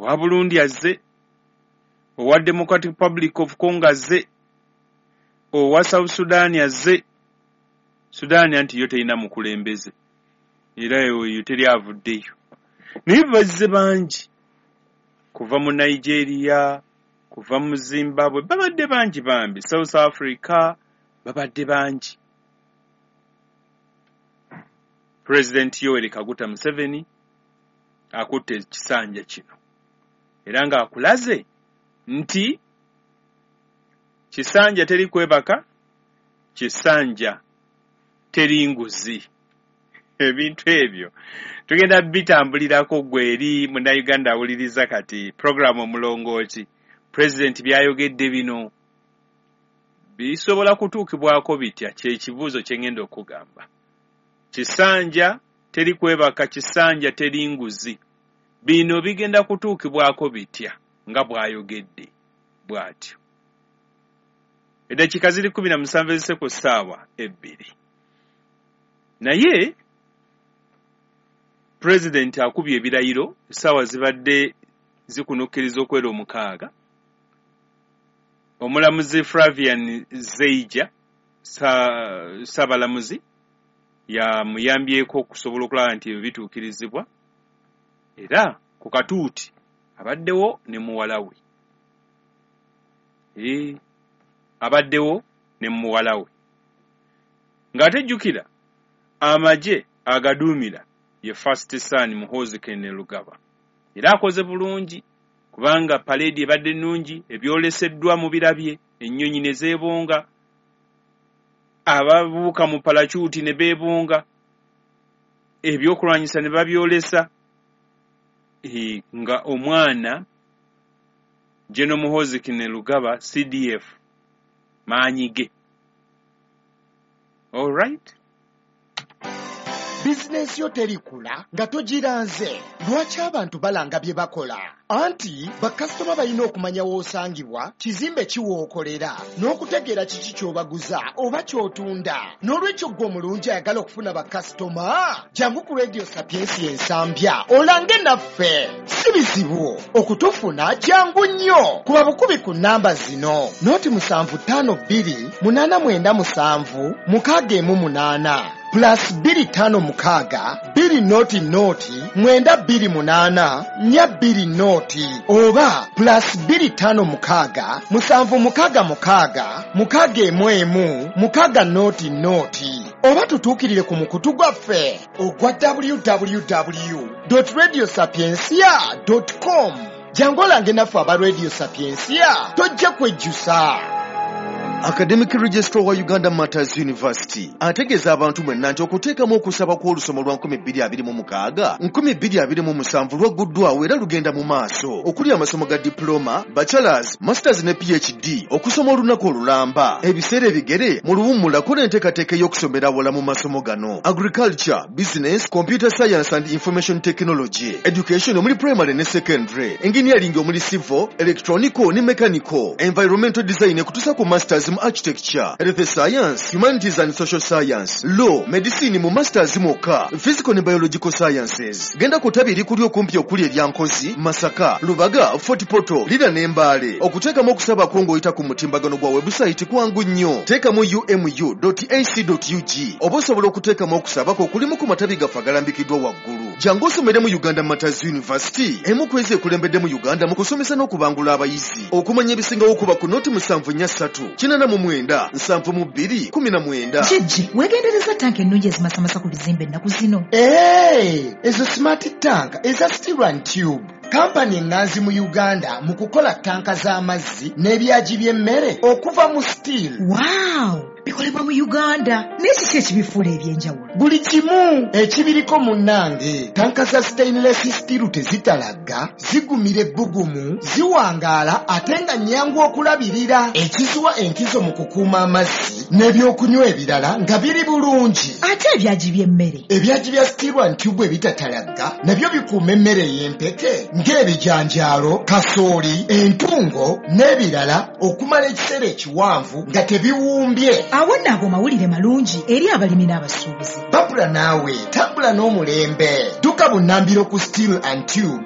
Owa Burundi azze, owa Democratic Republic of Congo azze, owa South Sudan azze. Sudan anti yo terina mukulembeze, era eyo teri avuddeyo, naye bazze bangi kuva mu Nigeria, kuva mu Zimbabwe, babadde bangi bambi, South Africa babadde bangi. Pulezidenti Yoweri Kaguta Museveni akutte ekisanja kino era ng'akulaze nti kisanja teri kwebaka, kisanja teri nguzi. Ebintu ebyo tugenda bitambulirako. Gwe eri Munnayuganda awuliriza kati puroguramu Omulongooti, pulezidenti byayogedde bino bisobola kutuukibwako bitya? Kyekibuuzo kye ngenda okugamba. Kisanja teri kwebaka, kisanja teri nguzi, bino bigenda kutuukibwako bitya nga bw'ayogedde bw'atyo? Eddakiika ziri 17 ezise ku ssaawa 2. Naye pulezidenti akubye ebirayiro, essaawa zibadde zikunukkiriza okwera 6. Omulamuzi Flavian Zeija, ssaabalamuzi, yamuyambyeko okusobola okulaba nti ebyo bituukirizibwa, era ku katuuti abaddewo ne muwala we, abaddewo ne muwala we, ng'ate jjukira amagye agaduumira ye First Son Muhoozi Kainerugaba. Era akoze bulungi kubanga paleedi ebadde nnungi, ebyoleseddwa mu birabye, ennyonyi ne zeebonga, ababuuka mu palakyuti ne beebonga, ebyokulwanyisa ne babyolesa, nga omwana General Muhoozi Kainerugaba CDF maanyi ge. All right. Bizinensi yo terikula nga togiranze. Lwaki abantu balanga bye bakola? Anti bakasitoma balina okumanya w'osangibwa, kizimbe kiwookolera, n'okutegeera kiki ky'obaguza oba ky'otunda. N'olwekyo ggwe omulungi ayagala okufuna bakasitoma, jangu ku Radio Sapiensia Ensambya olange naffe. Si bizibu okutufuna, jangu nnyo kuba bukubi ku nnamba zino: 0752897618, +256 200 928 420, oba +256 766 611 600, oba tutuukirire ku mukutu gwaffe ogwa www radio sapiencia com. Jangu olange naffe aba Radio Sapiencia, tojja kwejjusa. Academic Registrar wa Uganda Martyrs University ategeeza abantu mwenna nti okuteekamu okusaba kw'olusoma lwa 2026 2027 lwagguddwawo era lugenda mu maaso, okuli amasomo ga diploma, bachelors, masters ne PhD, okusoma olunaku olulamba, ebiseera ebigere, mu luwummula. Kola enteekateeka ey'okusomera awala mu masomo gano: agriculture, business, computer science and information technology, education omuli primary ne secondary, engineering omuli civil, electronical ne mechanical, environmental design, ekutuusa ku masters mu architecture, health science, humanities and social science, law, medicine mu masters mwokka, physical ne biological sciences. Genda ku ttabi erikuli okumpi okuli erya Nkozi, Masaka, Lubaga, Fort Portal, Lira ne Mbaale. Okuteekamu okusabako ng'oyita ku mutimbagano gwa webusayiti kwangu nnyo. Teekamu umu ac ug, oba osobola okuteekamu okusabako okulimu ku matabi gaffe agalambikiddwa waggulu. Jangu osomere mu Uganda Martyrs University, emu ku ezo ekulembedde mu Uganda mu kusomesa n'okubangula abayizi. Okumanya ebisingawo, kuba ku 074 89 72 19. Jjejje, weegendereza tanka ennungi ezimasamasa ku bizimbe ennaku zino? Ee, ezo smart tank eza Steel and Tube, kampani eŋŋanzi mu Uganda mu kukola tanka z'amazzi n'ebyagi by'emmere okuva mu steel. Waaw, bikolebwa mu Uganda, naye kiki ekibifuula ebyenjawulo? Buli kimu ekibiriko munnange. Tanka za stainless steel tezitalagga, zigumira ebbugumu, ziwangaala, ate nga nnyangu okulabirira, ekiziwa enkizo mu kukuuma amazzi n'ebyokunywa ebirala nga biri bulungi. Ate ebyagi by'emmere? Ebyagi bya Steel and Tube ebitatalagga nabyo bikuuma emmere ey'empeke ng'ebijanjaalo, kasooli, entungo n'ebirala okumala ekiseera ekiwanvu nga tebiwumbye. Awo nno ago mawulire malungi eri abalimi n'abasuubuzi. Babula naawe tambula n'omulembe, dduka bunnambiro ku Steel and Tube.